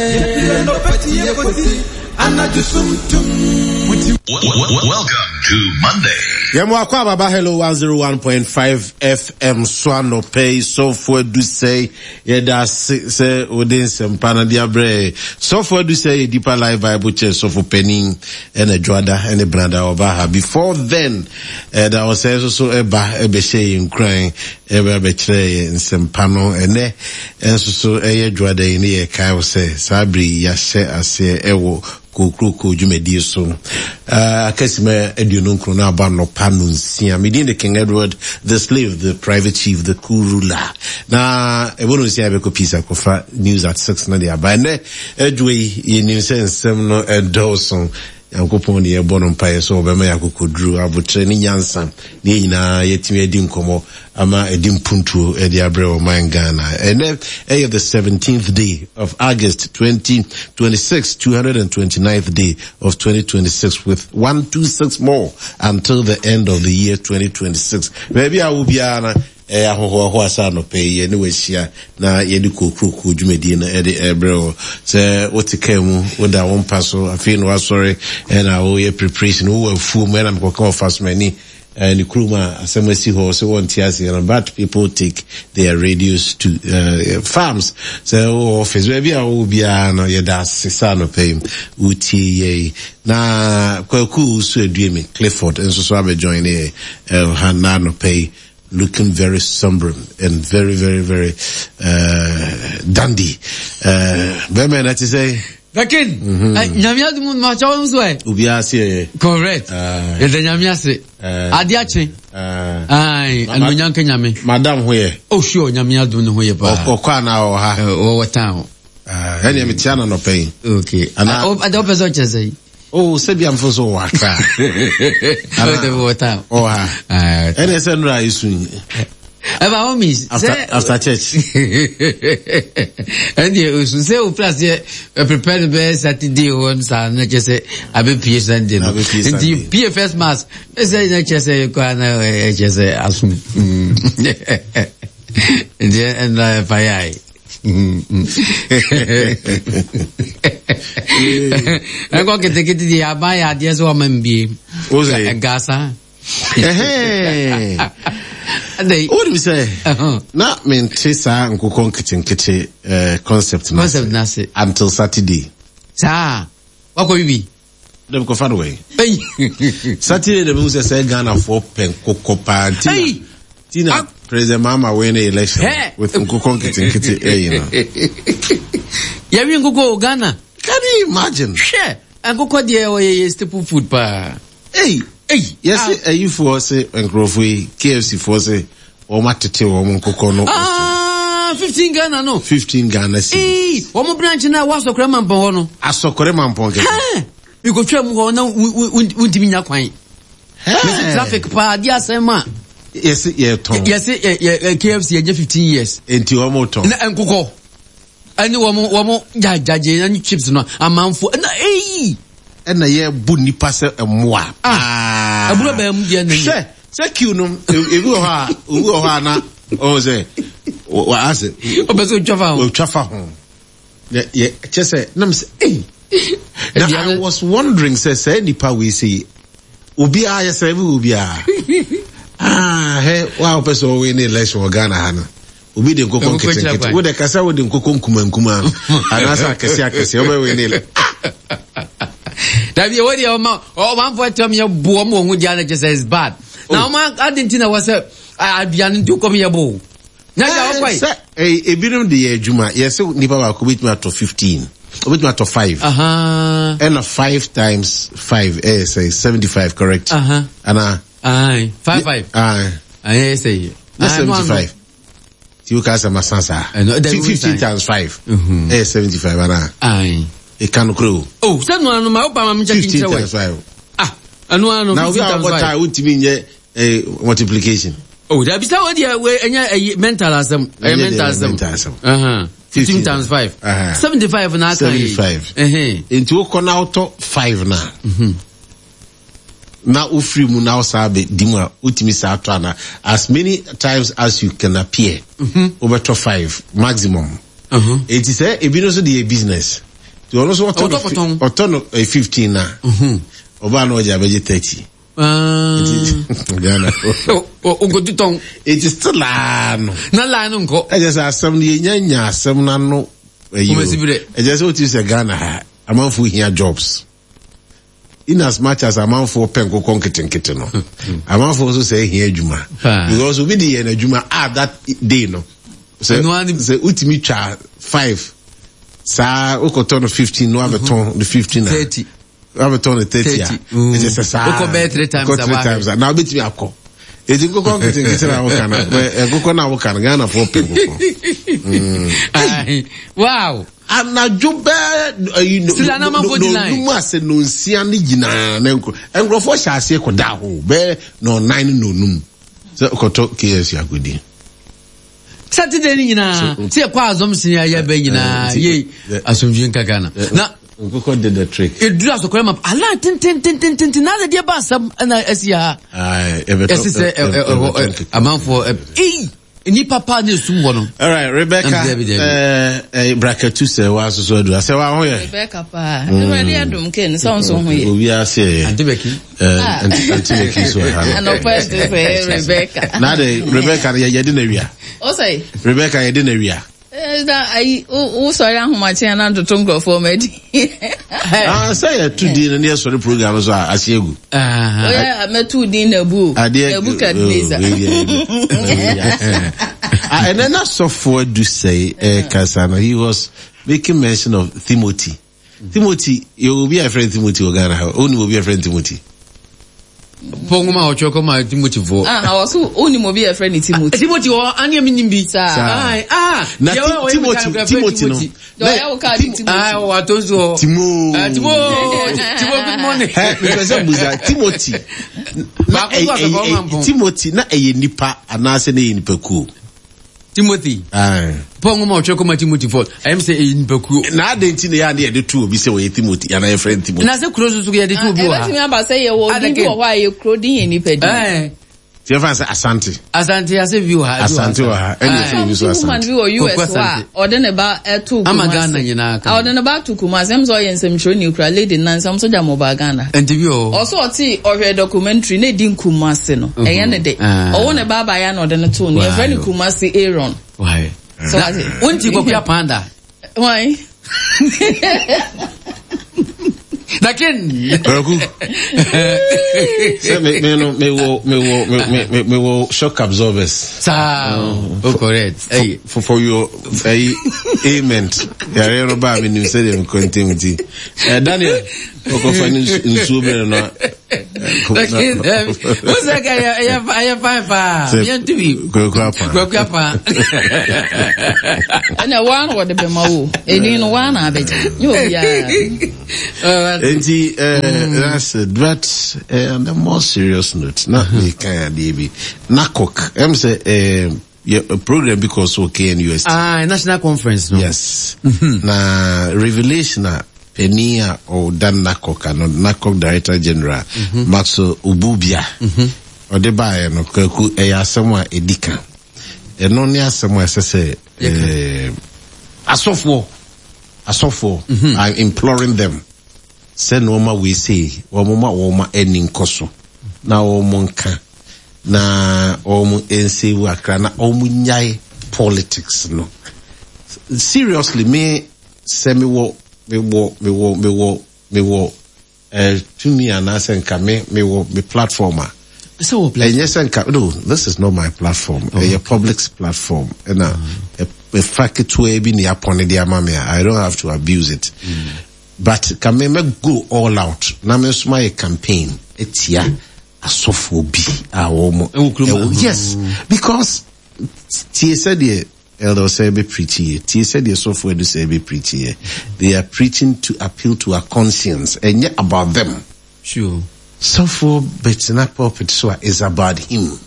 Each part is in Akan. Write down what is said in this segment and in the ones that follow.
Welcome to Monday. Yɛn mu akɔ ababa Hello 101.5 FM so anɔpɛ yi sɔfo Adusɛe yɛda ase sɛ wode nsɛmpa no de abrɛ sɔfo Adusɛe yɛ Deeper Life Bible Church sɔfo panin ɛna dwoada ɛne brada ɔba ha before then ɛda ɔsɛe nso so ɛba ɛbɛhyɛ yɛn nkuran ɛbɛ abɛkyerɛ yɛn nsɛmpa no ɛnɛ nso so ɛyɛ dwoada yi ne yɛkae wo sɛ saa bere yi yɛahyɛ aseɛ ɛwɔ Kokroko dwumadie so. Akasima 29 no aba nnɔpa nonsia. Me din de King Edward the Slave, the Private Chief, the Cool Ruler. Na ɛbɔ nonsia yɛbɛkɔ peace akɔfa news at 6 no de aba. Ɛnɛ adwuma yi yɛnim sɛ nsɛm no ɛdɔɔso. Nyankopɔn ne yɛbɔ no mpaeɛ sɛ ɔbɛma yɛ akokoduru, abotrɛ ne nyansa ne yɛn nyinaa yɛatumi adi nkɔmmɔ ama ɛde mpuntuo ɛde abrɛ ɔman Ghana. Ɛnɛ ɛyɛ the 17th day of August 2026, 229th day of 2026 with 126 more until the end of the year 2026. Baabi a wo biara no ɛyɛ ahohoahoa sɛ anɔpɛ yi yɛne wahyia na yɛde kokuroko dwumadie no ɛde ɛbrɛ wo sɛ wote kaa mu woda wo mpa so afei na wasɔre ɛna woyɛ preparation wowɔ afuo mu ɛna mekɔka ɔfa so m'ani ne kurom a asɛm asi hɔ sɛ wɔnte aseɛ no but people take their radios to farms sɛ wowɔ office baabi a wowɔ biara no yɛda ase sɛ anɔpa yi wotie yɛi na Kwaku so Aduemi Clifford nso so abɛjoin ne yɛ ha na anɔpa yi looking very somber and very very very dandy bɛrima na te sɛ Bekin, nyame adum ma kyɛw nso ɛ. Obiara se ɛyɛ. Correct. Yɛda nyame ase. Ade akye. Ayi, anuonyam nka nyame. Madam ho yɛ. Oh sure, nyame adum ne ho yɛ paa. Ɔkɔ anaa ɔwɔ ha? Ɔwɔ town. Ɛnna mi tia na nɔpɛ yi. Okay. Ana ɔpɛ sɛ ɔkyɛ sɛ yi. Oh, sɛbi amfo so wɔ Accra. Ɔwɔ town. Ɔwɔ ha. Ɛnna ɛsɛ nnura esu yi. Ɛba hɔ mi. After church. Ɛnna osu sɛ o plus yɛ prepare no bɛyɛ Saturday hɔ saa na kyɛ sɛ abɛ pie Sunday no. Nti pie first mass ɛsɛ na kyɛ sɛ kɔ ana ɛkyɛ sɛ asom. Nti ɛnna ɛfa yɛ ayi. Ɛkɔ ketekete deɛ aban yɛ adeɛ sɛ wama mbie. Gasa. Wonim sɛ na mente saa nkokɔ nketenkete concept no ase until Saturday. Saa wakɔ bibi. Dɛm kɔfa no wɛn. Saturday na mehu sɛ sɛ Ghanafoɔ pɛ nkokɔ paa nti na President Mahama win the election with nkokɔ nketenkete ɛyi no. Yɛwi nkokɔ wɔ Ghana. Can you imagine? Hwɛ nkokɔ deɛ ɔyɛ yɛ staple food paa. Ei, ei, yɛse ayifoɔ se nkurɔfoɔ yi, KFC foɔ se wɔn atete wɔn nkokɔ no. Ah, 15 Ghana no. 15 Ghana cedis. Ei, wɔn branch na ɛwɔ Asɔkɔrɛ Mampɔn hɔ no. Asɔkɔrɛ Mampɔn kɛkɛ. Hɛn, mekɔtwa mu hɔ na wontumi nya kwan. Mese traffic paa, di asɛm a. Yɛse yɛtɔn. Yɛse KFC yɛnyɛ 15 years. Enti wɔn tɔn. Na nkokɔ. Ɛne wɔn wɔn gyagyagye ne chips no amanfo na eyi. Ɛna yɛ bu nipa sɛ mmoa. Ah, aburo bɛn mu deɛ na nyɛ. Hwɛ sɛ kiw no ebi wɔ hɔ a obi wɔ hɔ a na ɔwɔ sɛ wɔ ase. Ɔpɛ sɛ otwa fa ho. Otwa fa ho. Yɛ yɛ kyɛ sɛ nam sɛ ei. Na I was wondering sɛ sɛ nipa wei sɛ yi obiara yɛ sɛ ebi wɔ obiara. Ah hɛ wa ɔpɛ sɛ ɔwɔ ne election wɔ Ghana ha no. Obi de nkokɔ nketenkete. Wo de kasa wo de nkokɔ nkuma nkuma anaasɛ akɛse akɛse ɔbɛ wei ne lɛ. Dabi ɛwɔ deɛ ɔma ɔmanfo ɛtɔ mi yɛ bo ɔmo wɔn ho gya na kyɛ sɛ it's bad. Na oh. ɔma adi nti na wɔ sɛ aduane nti kɔm yɛ bo. Na gya ɔkɔ yi. Sɛ ebinom de yɛ adwuma yɛ sɛ nipa baako betumi atɔ 15 obetumi atɔ 5. Ɛna 5 times 5 ɛyɛ sɛ 75 correct. Ana. Aye, 5 5. Aye. Ɛyɛ sɛ yi. Na 75. Ti o ka sɛ ma san saa. 15 times 5. Ɛyɛ 75 ana. Aye. Ɛka no koro o. Oh, sɛ no ano ma o pa ma mi kyɛ 15 times 5. Ah, ɛno ano 15 times 5. Na obi a ɔbɔ taa wontumi nyɛ multiplication. Oh, dabi sɛ o deɛ ɛnyɛ ɛyi mental asɛm. Ɛyɛ mental asɛm. Mental asɛm. 15 times 5. 75 na aka yi. 75. Nti wokɔ na wotɔ 5 na. Na wofiri mu na wosaa bɛ di mu a wotumi saa tɔ ana as many times as you can appear wobɛtɔ 5 maximum. Enti sɛ ebi no nso de yɛ business. Nti ɔno nso ɔtɔ no ɔtɔ no 15 na ɔbaa na ɔgye abɛgye 30. Ghana. Ogodu tɔn. Eti still aa no. Na line no nkɔ. Ɛkyɛ sɛ asɛm no yɛnya nya asɛm no ano. Ɛkyɛ sɛ wotu sɛ Ghana ha amanfoɔ hia jobs. In as much as amanfoɔ pɛ nkokɔ nketenkete no, amanfoɔ nso sɛ hia adwuma. Because obi de yɛ n'adwuma ah that day no. Sɛ sɛ wotumi twa 5 saa wokɔtɔ no 15 no abɛtɔn no 15 a. 30. Wabɛtɔn no 30 a. Ɛkyɛ sɛ saa. Wokɔ bɛyɛ 3 times. Wokɔ 3 times a. Na wobɛtumi akɔ. Eti nkokɔ nketenkete na woka no. Nkokɔ na woka no Ghanafoɔ pɛ nkokɔ. Wow. Anadwo bɛɛ ayi no Sila na amanfoɔ di line. nonum ase nonsia ne nyinaa na nkurɔfoɔ hyɛ aseɛ kɔda hɔ bɛɛ nɔnan ne nonum sɛ kɔtɔ KFC akɔdi. Saturday ni nyinaa sɛ yɛkɔ asɔmsen a yɛbɛ nyinaa yei asomdwe nka Ghana na nkokɔ did the trick. Eduru asɔkɔrɛ ma ala tententententen na adeɛ ba asɛm ɛna ɛsi ha. Ɛsi sɛ ɛhɔ amanfoɔ ɛyi. Nnipa paa na esum hɔ no. All right, Rebecca. Eh, eh, Brakatu sɛ wa soso adu. Asɛ wa ho yɛ. Rebecca paa. Awurade adum ke ne sɛ nso ho yɛ. Obi ase yɛ. Ante Becky. Eh, Ante Becky so ha. Anɔpa ɛte sɛ Rebecca. Na de Rebecca yɛ yɛ de na wia. O sɛ. Rebecca yɛ de na wia. Na ayi wo sɔre ahomakye ana ntoto nkurɔfoɔ ma adi. Ah, sɛ yɛto din no ne yɛsɔre program so a ase agu. Oyɛ mɛto din na abu o. Nebukadnezar. Ɛnɛ na sɔfoɔ adu sɛe ɛkasa no he was making mention of Timothy. Timothy, yɛ obi a yɛfrɛ no Timothy wɔ Ghana ha. Wonim obi a yɛfrɛ no Timothy? Paul nwoma a ɔtwerɛ kɔmaa Timothy foɔ. Ah, na ɔso wonim obi a yɛfrɛ no Timothy. Timothy wɔ ane a menim bi. Saa. Ah, na Timothy, Timothy no. Ɔyɛ wo kaa de Timothy. Ah, ɔwɔ ato nso hɔ. Timo. Ah, Timo. Timo, good morning. Ɛ, mepɛ sɛ musa Timothy. Na Timothy na ɛyɛ nipa anaasɛ na ɛyɛ nipakuo. Timothy. Paul nwoma ɔtwerɛ kɔma Timothy fɔ ɛyɛ sɛ ɛyɛ nipakuo. Na adɛn nti na yɛ ade yɛde to obi sɛ ɔyɛ Timothy anaa yɛfrɛ no Timothy. Na sɛ kuro nso so yɛde to obi wɔ ha. Ɛbɛtumi aba sɛ yɛwɔ odin bi wɔ hɔ a yɛ kuro din yɛ nipa din. Tí yɛfa sɛ Asante. Asante ase bi wɔ ha. Asante wɔ ha ɛna yɛfrɛ obi so Asante. Woman bi wɔ US hɔ a ɔde ne ba to Kumasi. Ama Ghana nyinaa ka. Ɔde ne ba to Kumasi ɛmu sɛ ɔyɛ nsɛmtwerɛni kura lady nansa ɔmo sɛ gya mo ba Ghana. Nti bi wɔ hɔ. Ɔsɛ ɔte ɔhwɛ documentary na edi Kumasi no ɛyɛ ne de. Ɔwɔ ne ba abayewa na ɔde no too no yɛfrɛ no Kumasi Aaron. Why? So ase. Wonti Kwaku Apanda. Why? Dakin. Kwaku. Sɛ me me no me wɔ me wɔ me me me wɔ shock absorbers. Saa. Oh correct. Hey. For your hey, amen. Yàrá no ba mi nim sɛ deɛ mi kɔ ntɛm ti. Daniel. Ɔkɔfa ne nsuo bɛrɛ no. Wosɛ ka ɛyɛ fine paa. Yɛnto bi. Kwaku apa. Kwaku apa. Ɛnna waa na wɔde bɛma wo. Ɛni no waa na abɛgye. Nyɛ obiara. Nti that's it. But on a more serious note, na meka adeɛ bi. NACOC, ɛm sɛ yɛ program bi kɔ so wɔ KNUST. Ah, national conference no. Yes. Mm-hmm. Na revelation a panin a ɔda NACOC ano, NACOC Director General, mm-hmm. Maxwell Obubia, mm-hmm. ɔde baeɛ no, kwaku ɛyɛ asɛm a ɛdi ka. Ɛno ne asɛm a ɛsɛ sɛ eh, asɔfoɔ, asɔfoɔ, mm-hmm. I'm imploring them sɛ nneɛma wei sei, wɔn ma wɔn ani nkɔ so na wɔn nka na wɔn nsewu akra na wɔn nyae politics no seriously me sɛ mewɔ mewɔ mewɔ mewɔ mewɔ eh, tumi anaasɛ nka me mewɔ me platform a ɛnyɛ sɛ nka no this is not my platform oh, ɛyɛ public platform ɛna ɛfa ketewa bi ne apɔne de ama me a I don't have to abuse it mm. But ka me mɛ go all out na me nso mayɛ campaign atia asɔfoɔ bi a wɔn ɛwɔ yes because tie sɛdeɛ Elder Osei bɛ preach yɛ tie sɛdeɛ sɔfoɔ Adu Sɛɛ bɛ preach yɛ they are preaching to appeal to our conscience ɛnyɛ about them. Sure. Sɔfoɔ bɛtena pulpit so a is about him.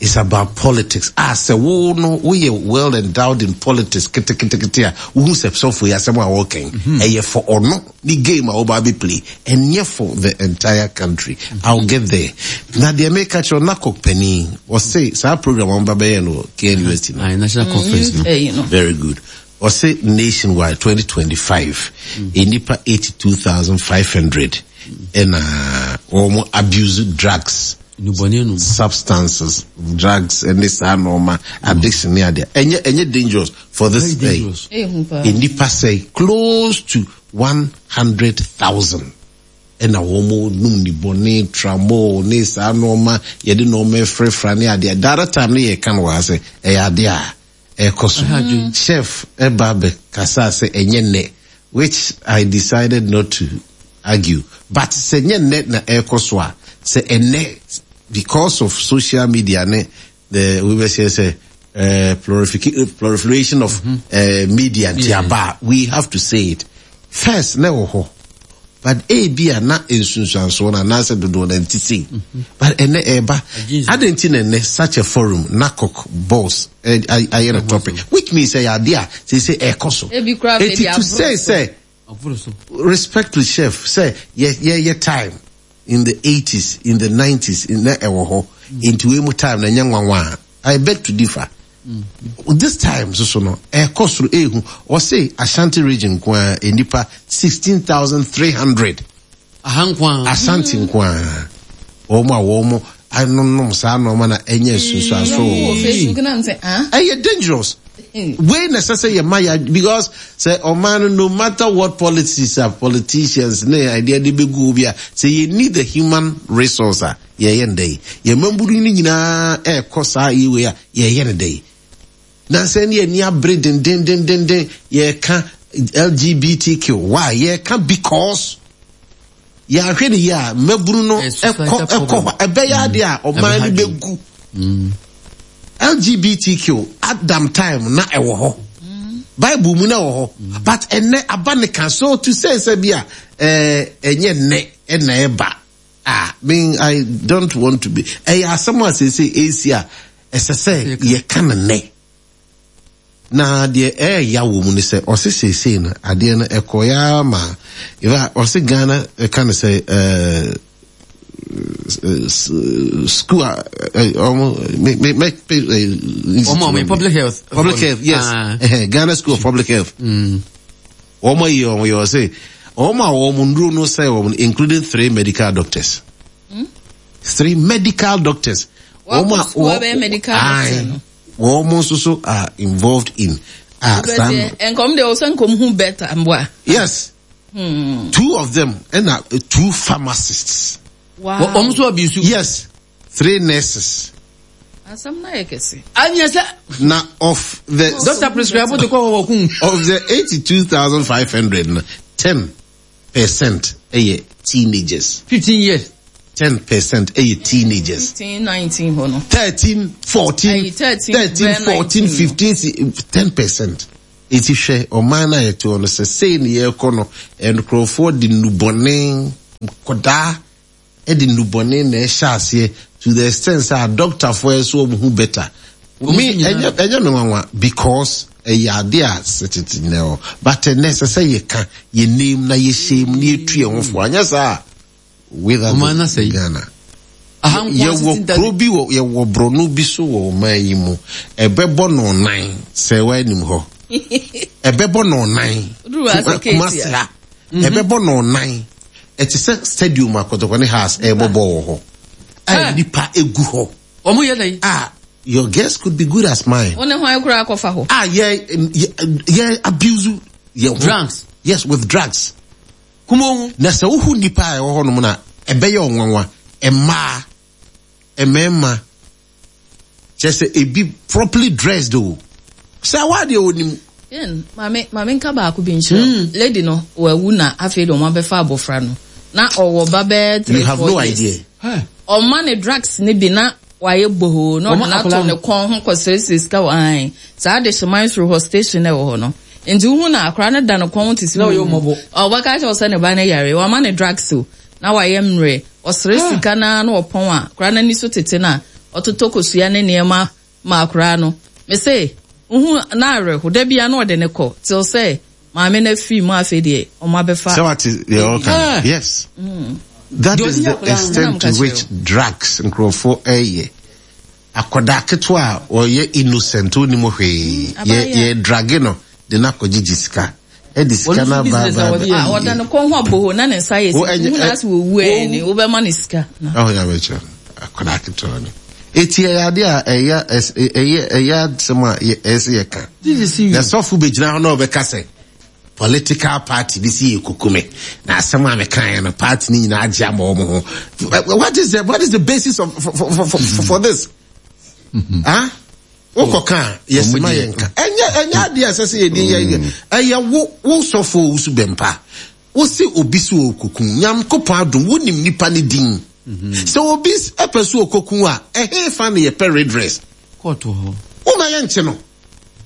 It's about politics. Ah, sɛ wo no woyɛ well endowed in politics keteketekete a wohu sɛ sɔfoɔ yi asɛm a wɔkɛn mhm. ɛyɛ for ɔno ne game a wɔba abɛ play ɛnyɛ for the entire country. Mhm. I'll get there. Na deɛ meka kyerɛ NACOC panin ɔse saa program a wɔba bɛyɛ no KNUST no. National conference no. Very good. Ɔse nationwide 2025 nnipa 82,500 ɛna wɔn abuse drugs, substances, drugs ɛne saa nneɛma addiction ne adeɛ. Ɛnyɛ ɛnyɛ dangerous for this day. Nnipa sɛ close to 100,000 ɛna wɔn nom nibɔne, tramol ne saa nneɛma yɛde nneɛma frɛfra ne adeɛ. The other time ne yɛ ka no wɔ ha sɛ ɛyɛ adeɛ a ɛkɔ so. Chef ɛba bɛ kasa sɛ ɛnyɛ nnɛ which I decided not to argue but sɛ nyɛ nnɛ na ɛkɔ so a sɛ ɛnnɛ because of social media ne the we bɛ sɛ proliferation of media nti aba a we have to say it first na ɛwɔ hɔ but ebi a na nsunsuansoɔ no anaasɛ dodoɔ no nti sei but ɛnɛ ɛɛba adɛn nti na ɛnɛ such a forum NACOC boss ayɛ no topic which means ɛyɛ adeɛ a seesei ɛɛkɔ so eti to say sɛ respect to chef sɛ yɛ yɛ yɛ time in the 80s in the 90s na ɛwɔ hɔ nti wei mu time na ɛnyɛ nwanwa a I beg to differ. This time nso so no ɛkɔ soro ehu ɔse Ashanti region nko ara nnipa 16,300 Aha nko ara. Ashanti nko ara wɔn a wɔn anonom saa nneɛma na ɛnyɛ nsunsuanso wɔ wɔn. Facebook na nsɛ ah. Ɛyɛ dangerous. Wei na ɛsɛ sɛ yɛ ma ya because sɛ ɔman no no matter what policies a politicians ne adeɛ de bɛgu bi a sɛ yɛ need the human resource a yɛyɛ no dɛn? Yɛn mmabunu no nyinaa ɛrekɔ saa yɛ wei a, yɛyɛ no dɛn? Nansa ne ani abere dendendendenden yɛreka LGBTQ. Why? Yɛreka because yɛahwɛ ne yie a mmabunu no ɛkɔ ɛkɔ hɔ ɛbɛyɛ adeɛ a ɔman no bɛgu. LGBTQ Adam time na ɛwɔ hɔ. Bible mu na ɛwɔ hɔ. But ɛnɛ aba ne ka so to say sɛ bi a ɛnyɛ nnɛ ɛna ɛba. Ah, me, I don't want to be. Ɛyɛ asɛm a seesei ɛresi a ɛsɛ sɛ yɛka no nnɛ. Na deɛ ɛɛya wɔ mu ne sɛ ɔse seesei no adeɛ no ɛkɔeɛ ara ma in fact ɔse Ghana ɛka no sɛ ɛɛ school a ɔmo me me me ɔmo public health public health yes ah. Ghana School of Public Health. Mm. Wɔn ayi wɔn yɛ ɔse wɔn a wɔn nnuro no sɛe wɔn including three medical doctors. Hmm? Three medical doctors. Wɔn a wɔn wɔn nso so are involved in. Ah, saa nkɔm de ɔsɛ nkɔm hu better mboa. Yes. Two of them ɛna two pharmacists. Wow. Wɔn nso abuse. Yes. Three nurses. Asɛm no ayɛ kɛse. Anyɛ sɛ. Na of the. Doctor prescribe de kɔ hɔ wɔ kun. Of the 82,500 no, 10% ɛyɛ teenagers. 15 years. 10% ɛyɛ teenagers. 15, 19 hɔ no. 13, 14, 13, 14, 15, 10%. Eti hwɛ ɔman no a yɛte hɔ no sɛ sei ne yɛrekɔ no nkurɔfoɔ de nnubɔne nkɔdaa de nnubɔne na ɛhyɛ aseɛ to the extent sɛ adɔktafoɔ ɛso wɔn ho better. Me ɛnyɛ ɛnyɛ me nwanwa because ɛyɛ ade a sɛ tete nyina hɔ but ɛnɛ ɛsɛ sɛ yɛka yɛ name na yɛhyɛ mu na yɛtu yɛn ho fo anyɛ saa a without Ghana. Yɛwɔ kuro bi wɔ yɛwɔ borɔno bi so wɔ ɔman yi mu ɛbɛbɔ no nan sɛ wɔanim hɔ ɛbɛbɔ no nan Kumasi ha ɛbɛbɔ no nan Ɛte sɛ stadium a Kotoko ne Hearts ɛrebɔ bɔɔl wɔ hɔ a nnipa egu hɔ. Wɔn yɛ dɛn? A your guess could be good as mine. Wɔn ne hwan koraa akɔfa hɔ? A yɛ yɛ abuse yɛ ho. Drugs. Yes, with drugs. Kumo. Na sɛ wohu nnipa a ɛwɔ hɔnom na ɛbɛyɛ ɔnwanwa, mmaa, mmarima, Kyerɛ sɛ ebi properly dressed o. Sɛ wa deɛ onim. Ken, maame, maame nka baako bi nkyerɛ wo. Hmm. Lady no, wawu na afei de wɔn abɛfa abɔfra no. Na ɔwɔ ba bɛyɛ three, four You have no years. idea. Ɔma ne drugs ne bi na wayɛ bohoo na ɔde no ato ne kɔn ho kɔsrɛsrɛ sika wɔ ae. Saa de hyeman soro hɔ station na ɛwɔ hɔ no. Nti wohu na akora no da ne kɔn ho te sɛ ɔbɛka kyerɛ wo sɛ ne ba no yare. Wama ne drugs o. Na wayɛ mmerɛ. Ɔsrɛ sika no ara na ɔpɔn a, akwadaa no ani so tete no a, ɔtotɔ kosua ne nneɛma ma akwadaa no. Mese, wohu na awerɛho. Da biara na ɔde no kɔ till sɛ maame no afiri mu afei deɛ wɔn abɛfa. Sɛ wate deɛ ɔka no? Yes. That is the extent to which drugs nkurɔfoɔ ɛyɛ. Akwadaa ketewa a ɔyɛ innocent onim hwee, yɛ yɛ drage no. de no akɔgyegye sika. Ɛde sika no aba aba aba. Ah, ɔda ne kɔn ho aboho na ne nsa yɛ sika. Hu na ase wɔ wu ɛni, wobɛma ne sika. Ɔho ya bɛkyerɛ no, akwadaa ketewa no. Eti ɛyɛ ade a ɛyɛ ɛyɛ ɛyɛ asɛm a ɛyɛ sɛ yɛka. Na sɔfo bɛgyina hɔ na ɔbɛka sɛ political party bi si yɛ kukume na asɛm a mekaeɛ no party no nyinaa agye ama wɔn ho. What is the what is the basis of for for for, for, for this? Mm-hmm. Huh? Wokɔ ka a yɛsi ma yɛn ka. Ɛnyɛ ɛnyɛ adeɛ a ɛsɛ sɛ yɛde yɛ yɛ. Ɛyɛ wo wo sɔfo owusu bɛmpa. Wosi obi so okokun. Nyankopɔn adom wonim nipa ne din. Sɛ obi ɛpɛ so okokun a ɛhe fa na yɛpɛ redress. Kɔɔto hɔ. Woma yɛnkye no.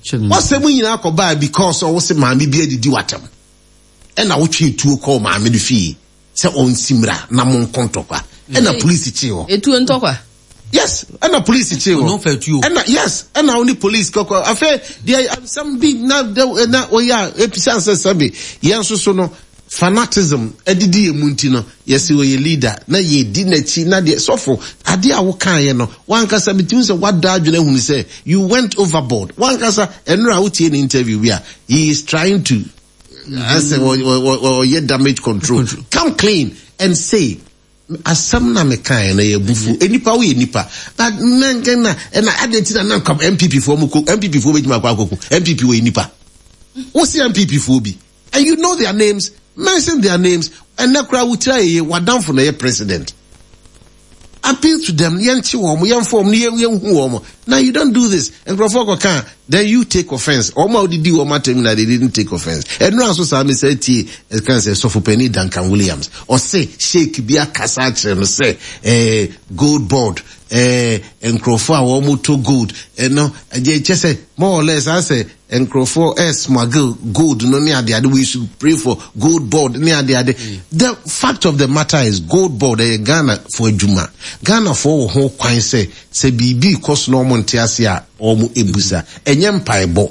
Wasɛm nyinaa kɔbaa because ɔwo se maame bi adidi watam. Ɛna wotwe tuo kɔɔ maame no fie. sɛ ɔnsi mmra na mo nko ntɔkwa ɛna polisi kyee hɔ. Etuo ntɔkwa. Yes, ɛna polisi kyee hɔ. Ɛna yes, ɛna wo ne polisi kɔkɔ. Afei deɛ asɛm bi na na ɔyɛ a ebisa sɛ sɛbi yɛn nso so no fanatism ɛdidi yɛn mu nti no yɛsi ɔyɛ leader na yɛdi n'akyi na deɛ sɔfo adeɛ a wokaeɛ no wankasa bitumi sɛ wada adwene ahunu sɛ you went overboard wankasa ɛnora wotie ne interview bi a he is trying to asɛ ɔyɛ damage control come clean and say asɛm na mekaeɛ no yɛ bufu nipa woyɛ nipa but na na ɛna adɛn nti na na nka npp foɔ mu ko npp foɔ bɛtumi akɔ akɔko npp wɔyɛ nipa wosi npp foɔ bi and you know their names mention their names ɛnɛ koraa wotira yɛyɛ wadamfo na ɛyɛ president appeal to them yɛnkye wɔn yɛmfa wɔn yɛn yɛnhu wɔn now you don't do this nkurɔfoɔ kɔ kan then you take offence wɔn a wɔdidi wɔn atɛm na they didn't take offence ɛnura nso saa mi sɛ tie ɛkan sɛ sɔfo Duncan Williams ɔse sheik bi akasa akyerɛ no sɛ ɛɛ gold board ɛɛ nkurɔfoɔ a wɔn to gold ɛno ɛgye kyɛ sɛ more or less asɛ nkurɔfoɔ ɛ smuggle gold no ne adeade we should pray for gold board ne adeade the fact of the matter is gold board ɛyɛ Ghana fo adwuma Ghana foɔ wɔ ho kwan sɛ sɛ biribi kɔ so na wɔn nte ase a wɔn ebusa ɛnyɛ mpaebɔ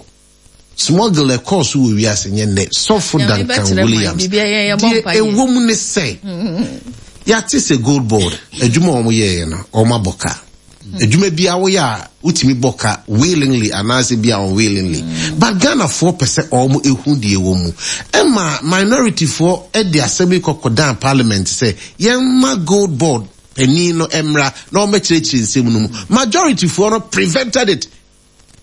smuggle ɛkɔɔ so wɔ wiase nyɛ nnɛ sɔfo Duncan Williams deɛ ɛwɔ mu ne sɛ yɛate sɛ gold board adwuma a wɔn yɛɛyɛ no wɔn abɔ ka Adwuma bi a woyɛ a wotumi bɔ ka willingly anaasɛ bi a unwillingly. Mm. But Ghanafoɔ pɛ sɛ wɔn ehu deɛ ɛwɔ mu. Ɛma minorityfoɔ de asɛm yi kɔkɔdan parliament sɛ yɛmma gold board panin no mmra na wɔmmɛkyerɛkyerɛ nsɛm no mu. Majorityfoɔ no prevented it.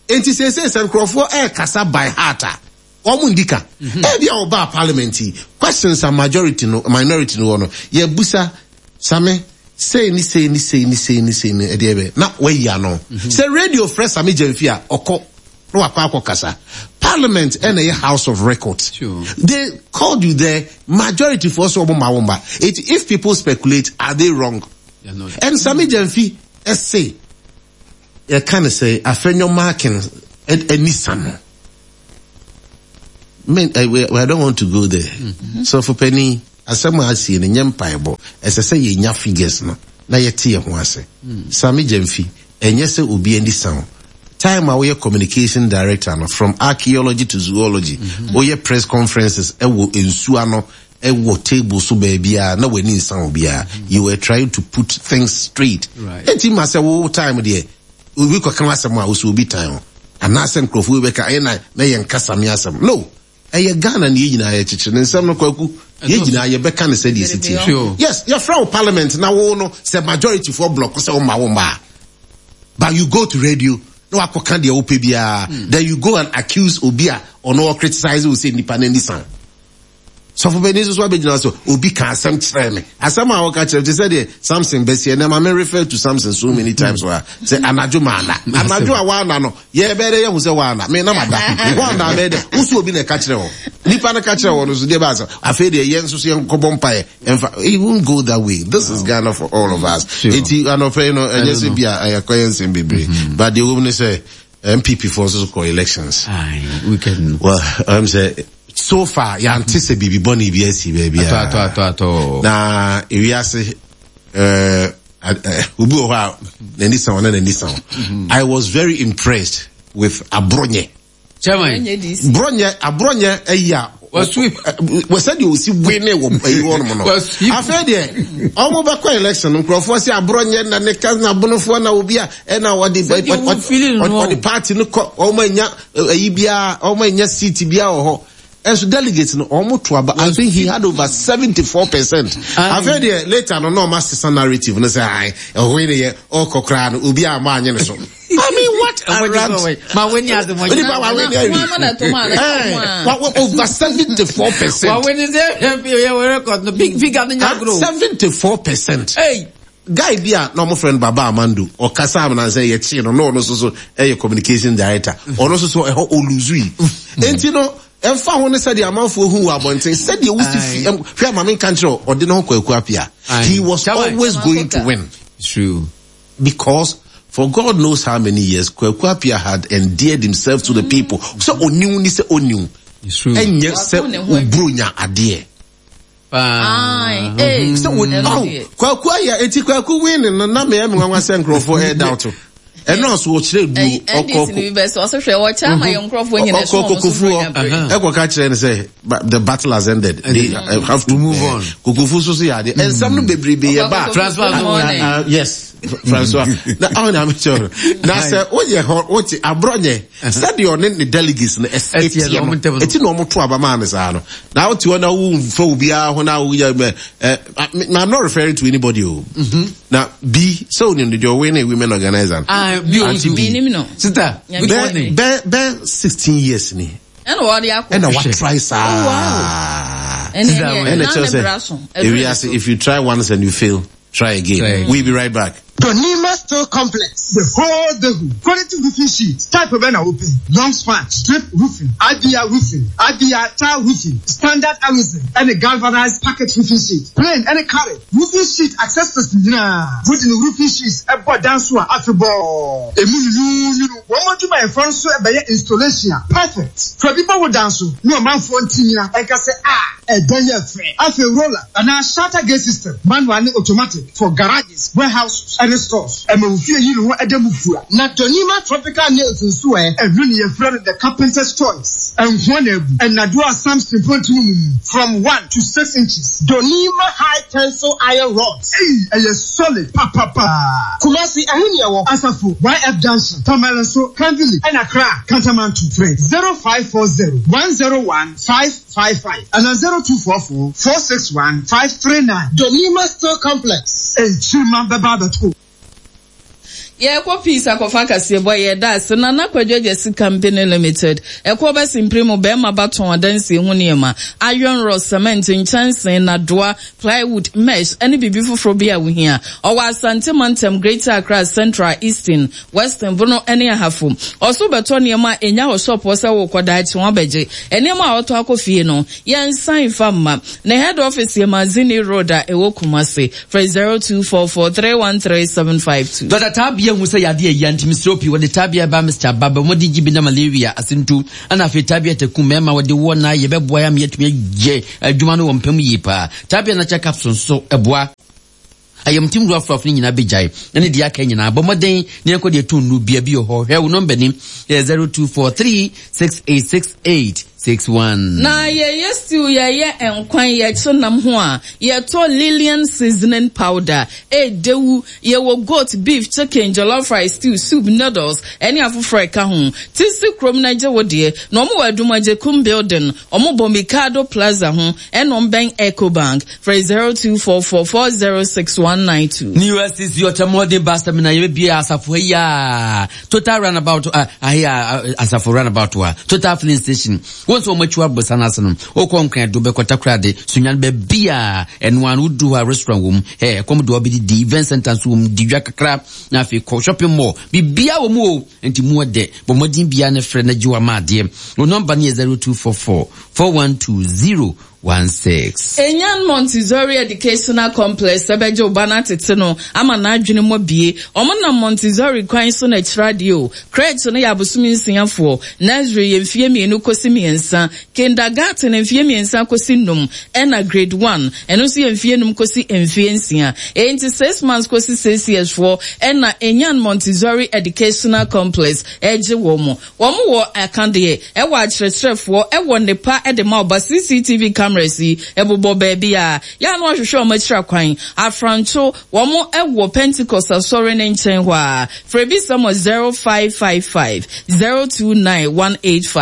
Enti seesei sɛ nkurɔfoɔ ɛrekasa by heart a, wɔn ndi ka. Mhm. Ebi a wɔbaa parliament yi, questions a majority no, minority no wɔ no, yɛbusa Same, sei ne sei ne sei ne sei ne sei ne ɛdeɛ bɛ, na wayi ano. Mhm. Sɛ radio frɛ Same Gyamfi a, ɔkɔ na wakɔ akɔ kasa. Parliament ɛna ɛyɛ house of records. Sure. They called you there, majority foɔ so wɔn ma wɔn ba. If people speculate, are they wrong? And Same Gyamfi ɛse, yɛka no sɛ Afenyo-Markin ani sa no. Me, I, I don't want to go there. Mm-hmm. Sɔfo panin, asɛm a asie no nyɛ mpaebɔ. Ɛsɛ sɛ yɛnya figures no na yɛte yɛn ho ase. Mm. Sami Gyamfi, ɛnyɛ sɛ obi ani sa wo. Time a woyɛ communication director no, from archaeology to zoology, mm-hmm. woyɛ press conferences ɛwɔ nsuo ano, ɛwɔ table so baabiara na w'ani nsa obiara you were trying to put things straight eti ma sɛ wo time deɛ obi kɔka w'asɛm a wosɛ obi tan ho anaasɛ nkurɔfoɔ bi bɛka ɛyɛ na na yɛn kasa mi asɛm no ɛyɛ Ghana ne yɛn nyinaa yɛkyekyere ne nsɛm no kwaku yɛn nyinaa yɛbɛka ne sɛdeɛ ɛsi tie yes yɛfrɛ wo parliament na wo no sɛ majority foɔ block sɛ wo ma wo mmaa but you go to radio na wakɔka deɛ wopɛ biara hmm. then you go and accuse obi a ɔno ɔcriticize wo sɛ nipa no ani san Sɔfo panin nso so abɛgyina so, obi ka asɛm kyerɛ me. Asɛm a wɔka kyerɛ te sɛ deɛ Samson bɛsiɛ na ma me refer to Samson so many times wɔ ha. Sɛ anadwo maana. Anadwo a waana no, yɛbɛyɛ dɛ yɛhu sɛ waana. Me na mada. Waana bɛyɛ dɛ. Wo so obi na ɛka kyerɛ wɔ. Nipa no ka kyerɛ wɔ no so deɛ baa sɛ afei deɛ yɛn nso so yɛn kɔbɔ mpaeɛ. Ɛnfa, it won't go that way. This is Ghana for all of us. Eti anɔpɛ yi no, ɛnyɛ sɛ bi a ɛyɛ nsɛm bebree. But deɛ wɔm ne sɛ, NPP foɔ nso so kɔ elections. Aye, weekend no. Well, I'm say so far yɛante sɛ biribi bɔne bi asi baabi a. Atɔ atɔ atɔ. Na ewiase ɛɛ obi wɔ hɔ a n'ani san na n'ani san. Mm-hmm. I was very impressed with Abronye. Chairman. Bronye Abronye ayi a. Sɛdeɛ ɔsi wene wɔ ayi hɔ nom no. Afei deɛ ɔmo bɛkɔ election no nkurɔfoɔ sɛ aborɔ nyɛ na ne ka na abonofoɔ na obi a ɛna ɔde ɔde party no kɔ ɔmo anya ayi biara ɔmo anya seat biara wɔ hɔ. Ɛnso delegates no ɔmo to aba I think he had over 74%. Afei deɛ later no na ɔmo asesa narrative no sɛ ae ɛhɔ yi ne yɛ ɔkɔ koraa no obi a ɔmo anye ne so. I mean what a rant. Ma weni ase mo. Nipa wa weni awi. Eh, over 74%. Wa weni se yɛ record no big figure no nya grow. 74%. Hey. Guy bi a na ɔmo frɛ no Baba Amando ɔkasa amena sɛ yɛkyee no na ɔno nso so ɛyɛ communication director ɔno nso so ɛhɔ oluzu yi enti no ɛmfa ho ne sɛdeɛ amanfoɔ hu wɔ abɔnten sɛdeɛ wosi fi hwɛ ama me nka nkyerɛ ɔde ne ho kɔ aku apia he was always going to win. True. Because for God knows how many years Kwaku Appiah had endeared himself to the people. Sɛ oniw ni sɛ oniw. Ɛnyɛ sɛ obronya adeɛ. Sɛ oniw. Kwaku ayɛ eti Kwaku win no na meyɛ me nwanwa sɛ nkurɔfoɔ ɛda to. Ɛno nso ɔkyerɛ duro ɔkɔ ɔkɔ kokofuo ɛkɔ ka kyerɛ no sɛ the battle has ended they have to move on kokofuo so so yɛ adeɛ nsɛm no bebrebe yɛ ba Francois yes Francois na ɔn na mekyerɛ no na sɛ woyɛ hɔ wote aborɔ nyɛ sɛdeɛ ɔne ne delegates no ɛteɛ no ɛti na ɔmo to aba maa no saa no na wote hɔ na womfa obiara ho na woyɛ mɛ ɛ I'm not referring to anybody o na bi sɛ onim de deɛ ɔwɔ ne women organizer ah bi o Auntie B. Menim no. Sister, good bɛ morning. bɛ bɛ 16 years ni Ɛna wɔde akɔ. ɛna watry saa Ɛne ɛne ɛna na kyerɛ ne bra so. sɛ ewiase if you try once and you fail try again Try again. we be right back. Donima Steel Complex, the whole Dehu. Quality roofing sheet, type of an open, long span, strip roofing, IBR roofing, IBR tile roofing, standard aluminum, and a galvanized packet roofing sheet, plain and a carry, roofing sheet accessories nyinaa. Wode ne roofing sheets ɛbɔ dan so a afebɔɔ. Emu nunununu, wɔn adwumayɛfoɔ nso ɛbɛyɛ installation a perfect. Fa bi bɔ wo dan so ne ɔmanfoɔ ntinyina ɛnka sɛ a ɛdan yɛ fɛ. Afei roller anaa shutter gate system, manual ne automatic for garages, warehouses ɛne stores. Ɛma wo fie yi ne ho ɛda mu fua. Na Donima tropical nails nso ɛ? Ɛno ne yɛfrɛ no the carpenter's choice. Ɛnhoa na abu. Ɛnnadoɔ a Samson mfɔntunu mu mu from 1 to 6 inches. Donima high tensile iron rods. Ei, ɛyɛ solid papapa. Kumasi, ɛhe ne ɛwɔ? Asafo, YF Junction, Tamale nso, Kanvili, ɛna Accra, Kantamanto. Frɛ 0540 101 555 ɛna 0244 461 539. Donima Steel Complex. Nkyirima bɛba abɛto. Yɛkɔ Peace akɔfa kaseɛbɔ. Yɛda ase Nana Kwadwo Agyasi Company Limited. Ɛkɔ bɛsi mpere mu bɛrima ba tɔn adansie ho nneɛma, iron rod, cement, nkyɛnsee, nadoa, plywood, mesh ɛne biribi foforɔ bi a wohia. Ɔwɔ Asante Mantam, Greater Accra, Central, Eastern, Western, Bono ɛne Ahafo. Ɔso bɛtɔ nneɛma a ɛnya hɔ shop hɔ sɛ wokɔ daakye wɔn abɛgye nneɛma a ɔtɔ akɔ fie no, yɛnsan fa mma. Ne head office yɛ Mazini Road a ɛwɔ Kumase. Frɛ 0244313752. Dɔkta Taabea hu sɛ yadeɛ ayia nti mesrɛ wo pii wɔde Taabea herbal mixture aba bɛ wɔde gye bi na malaria asentu ɛna afei Taabea takum mmarima wɔde woɔ na yɛbɛboa yɛ ama yɛatumi ayɛ adwuma no wɔ mpa mu yie paa. Taabea natural capsule nso ɛboa ayamtim wura afrafo no nyinaa bɛgyae ɛne deɛ aka nyinaa. Bɔ mmɔden na yɛnkɔ deɛ ɛtɔ nnuro bia bi wɔ hɔ. Hwɛ wo nɔmba ni yɛ 0243 6868 61. Na yɛyɛ stew, yɛyɛ nkwan, yɛkye nam ho a, yɛtɔ Lillian seasoning powder. Ɛdewu, yɛwɔ goat, beef, chicken, jollof rice, stew, soup, noodles, ɛne afoforɔ ɛka ho. Tisi kurom na gye wo deɛ. Na ɔmo wɔ Adumagyekum building, ɔmo bɔ Mikado Plaza ho, ɛna ɔmo bɛn Ecobank. Frɛ 0244406192. New SCC ɔtɛmɔden bus terminal yɛbɛbie asafo ha yi a Total roundabout ahe a asafo roundabout a Total filling station wɔn nso wɔn akyi abosa no ase no wokɔ Nkran do bɛkɔ Takoradi Sunyani baabi a ɛno ano wodu hɔ a restaurant wɔ mu ɛ ɛkɔm de wɔbɛdidi, event center nso wɔ mu, di dwa kakra na afei kɔ shopping mall, biribiara wɔ mu o, nti mu ɔdɛ. Bɔ mmɔden biara ne frɛ na gye wama adeɛ. Wo nɔmba no yɛ 0244 412 0. 16. Enyan Montessori Educational Complex bɛgye wo ba no atete no ama n'adwene mu abue. Wɔnam Montessori kwan so na ɛkyerɛ adeɛ o. Crèche no yɛ abosome nsiafoɔ, nursery yɛ mfeɛ mmienu kɔsi mmiɛnsa, kindergarten mfeɛ mmiɛnsa kɔsi nnum, ɛna grade one, ɛno nso yɛ mfeɛ nnum kɔsi mfeɛ nsia. Enti six months kɔsi six years foɔ ɛna Enyan Montessori Educational Complex gye wɔn. Wɔn wɔ akadeɛ, ɛwɔ akyerɛkyerɛfoɔ, ɛwɔ nnepa de ma ɔba. CCTV cameras yi ɛbobɔ baabi a, yɛ a na wahwehwɛ wɔn akyiri akwan. Afranto, wɔn ɛwɔ Pentecost asɔre no nkyɛn hɔ ara. Frɛ bisa wɔ 0555 029 185.